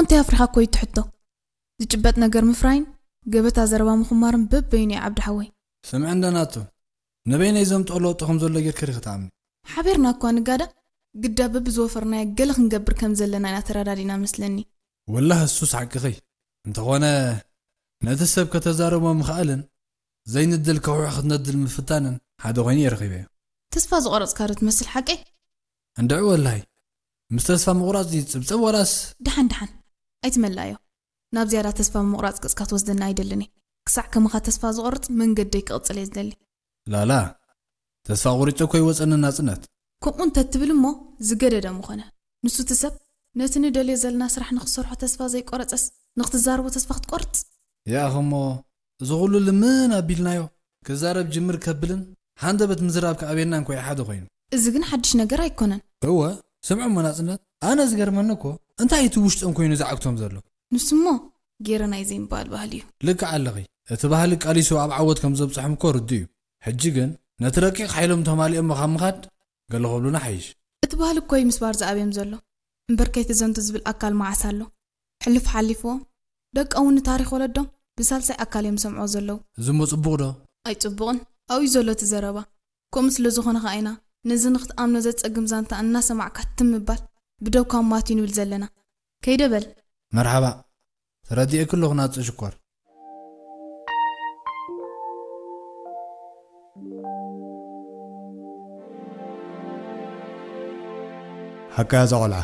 እንታይ ኣፍሪኻ እኮ እዩ እቲ ሕቶ። ዝጭበጥ ነገር ምፍራይን ገበታ ዘረባ ምኽማርን በበይኑ እዩ ዓብዲ ሓወይ። ስምዕ እንደ ናቱ፣ ንበይነይ ዘምፅኦ ለውጢ ከም ዘሎ ጌርካ ዲኺ ትኣምኒ? ሓቢርና እኳ ንጋዳ፣ ግዳ በብዝወፈርናዮ ገለ ክንገብር ከም ዘለና ኢና ተረዳዲና መስለኒ። ወላሂ እሱስ ሓቅኺ። እንተኾነ ነቲ ሰብ ከተዛርቦ ምኽኣልን ዘይንድል ከውሒ ክትነድል ምፍታንን ሓደ ኮይኑ እየ ረኺበዮ። ተስፋ ዝቆረፅካ ዶ ትመስል ሓቀይ? እንድዒ ወላሂ፣ ምስ ተስፋ ምቑራፅ ድዩ ዝፅብፀብ ዋላስ? ደሓን ደሓን፣ ኣይትመልኣዮ። ናብ ዝያዳ ተስፋ ምቑራፅ ገፅካ ትወስደና ኣይደልን እየ። ክሳዕ ከማኻ ተስፋ ዝቆርፅ መንገደይ ክቕፅል እየ ዝደሊ። ላላ፣ ተስፋ ቆሪፀ እኮ ይወፀኒ ናፅነት። ከምኡ እንተትብል እሞ ዝገደደ ምኾነ። ንሱ እቲ ሰብ ነቲ ንደልዮ ዘለና ስራሕ ንኽሰርሖ ተስፋ ዘይቆረፀስ ንኽትዛረቦ ተስፋ ክትቆርፅ? ያእኸ እሞ፣ እዚ ኩሉ ልምን ኣቢልናዮ ክዛረብ ጅምር ከብልን ሃንደበት ምዝራብ ከኣብየናን ኮይ ሓደ ኮይኑ። እዚ ግን ሓድሽ ነገር ኣይኮነን። እወ፣ ስምዑ እሞ ናፅነት፣ ኣነ ዝገርመኒ እኮ እንታይ እቲ ውሽጦም ኮይኑ ዝዓግቶም ዘሎ? ንሱሞ ጌረ ናይ ዘይምባል ባህሊ እዩ። ልክዕ ኣለኺ። እቲ ባህሊ ቃሊሱ ኣብ ዓወት ከም ዘብፅሖም እኮ ርዱእ እዩ። ሕጂ ግን ነቲ ረቂቕ ሓይሎም ተማሊኦሞ ካብ ምኻድ ገለ ክብሉና ሓይሽ። እቲ ባህሊ እኮ እዩ ምስባር ዝኣብዮም ዘሎ። እምበር ከይትዘንቱ ዝብል ኣካል መዓስ ኣሎ? ሕልፍ ሓሊፍዎም ደቂ እውን ንታሪኽ ወለዶም ብሳልሳይ ኣካል እዮም ዝሰምዕዎ ዘለዉ። እዚ እሞ ፅቡቕ ዶ? ኣይፅቡቕን። ኣብኡ እዩ ዘሎ እቲ ዘረባ። ከምኡ ስለ ዝኾነ ኸዓ ኢና ነዚ ንክትኣምኖ ዘጸግም ዛንታ እናሰማዕካ ትም ምባል ብደውካ ማት እዩ ንብል ዘለና። ከይደ በል። መርሓባ። ተረዲኤኪ ኣለኹ ናጽ ሽኮር። ሓቃ እዛ ቆልዓ